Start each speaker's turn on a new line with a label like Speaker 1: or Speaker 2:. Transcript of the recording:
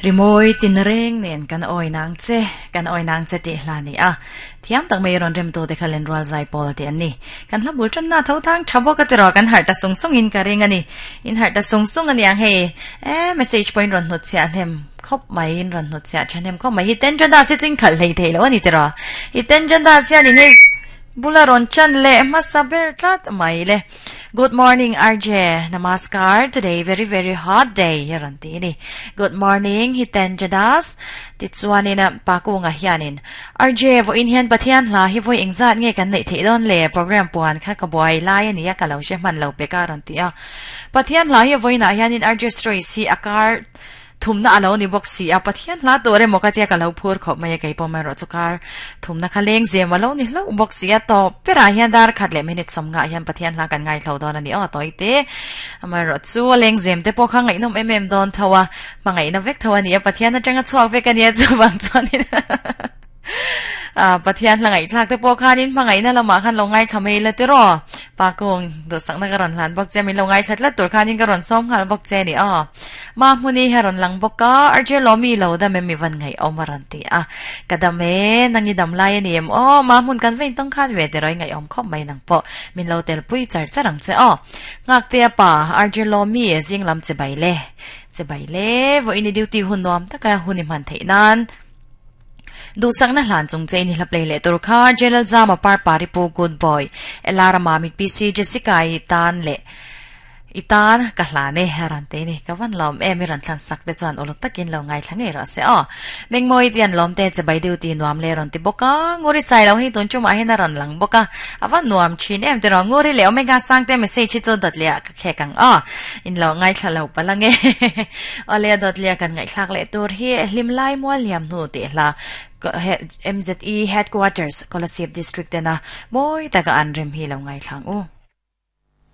Speaker 1: Rimawi tinreng nen kan awi nang che, kan awi nang che tih hla ni a. Thiam tak mai rawn remtu te kha Lenrual zai pawl tih an ni. Kan hla bul tanna tho thang tha bawk a ti rawh, kan harh ta sung sung in ka ring a ni. In harh ta sung sung a niang hei. E message pawhin rawn hnut chhiah hnem khawp mai, in rawn hnut chhiah tha hnem khawp mai. Hi Tenjanda si chu in khalh hlei thei lo a ni ti rawh. Hi Tenjanda sian in hei bula rawn chan leh hmasa ber tlat mai le. Good morning RJ Namaskar today very very hot day hi rawn ti ni Good morning Hiten Jadas tichuanin Pakunga hianin RJ vawiin hian Pathian hla hi vawi engzat nge kan neih theih dawn le program puan kha ka buai lai ania ka lo hre hman lo pek a rawn ti a Pathian hla hi vawiinah hianin RJ Stories hi a kar Thumna a lo ni bawk si a, Pathian hla tur emaw ka tia ka lo phur khawp mai a, kei pawh erawh chu kar thumna kha leng zem a lo ni hlauh bawk si a, tawp berah hian dar khat leh minute sawmngah hian Pathian hla kan ngaithlo dawn a ni aw tawi te. Amaherawh chu a leng zem te pawh kha ngaihnawm em em dawn tho a, hmangaihna vek tho a ni a, Pathian atanga chhuak vek a nia chuvang chuanin Pathian hla ngaihthlak te pawh khanin hmangaihna lamah khan lo ngaithla mai la tiraw? Pa kung duhsakna ka rawn hlan bawk che, min lo ngaithla tlat tur khanin ka rawn sawm nghal bawk che ni aw. Ma hmuni hi a rawn lang bawk a, Arje Lawmi lo dam em i van ngaihawm a rawn ti a. Ka dam e, nang i dam lai a ni em aw, ma hmun kan va intawng khan ve tiraw i ngaihawm khawp mai nang pawh min lo tel pui char char ang che aw. Nghaktea pa, Arje Lawmi zing lam che bai le, che bai le, vawiin i duty hun nuam taka hun i hman theih nan. Duhsakna hlan chung che in i hla play leh tur kha Jelal Zama Parpari Pu Good Boy Elara Mamit PC Jessica i tan leh i tan ka hlan e a rawn ti ni ka van lawm em i rawn thlan sak te chuan uluk takin lo ngaithla ngei rawh se aw Mengmawi ti an lawm te che bai deuh ti nuam le rawn ti bawk a Nguri sai lo hei tun chumah hian a rawn lang bawk a a van nuam thin em tiraw Nguri leh Omega Sangte message hi chu dawt leh ah ka khek ang aw in lo ngaithla lo palh ange Awle a dawt leh a kan ngaihthlak leh tur hi hlim lai mual liam hnu tih hla MZE Headquarters Kolasib District tena mawi taka an rem hi lo ngaithla ang u.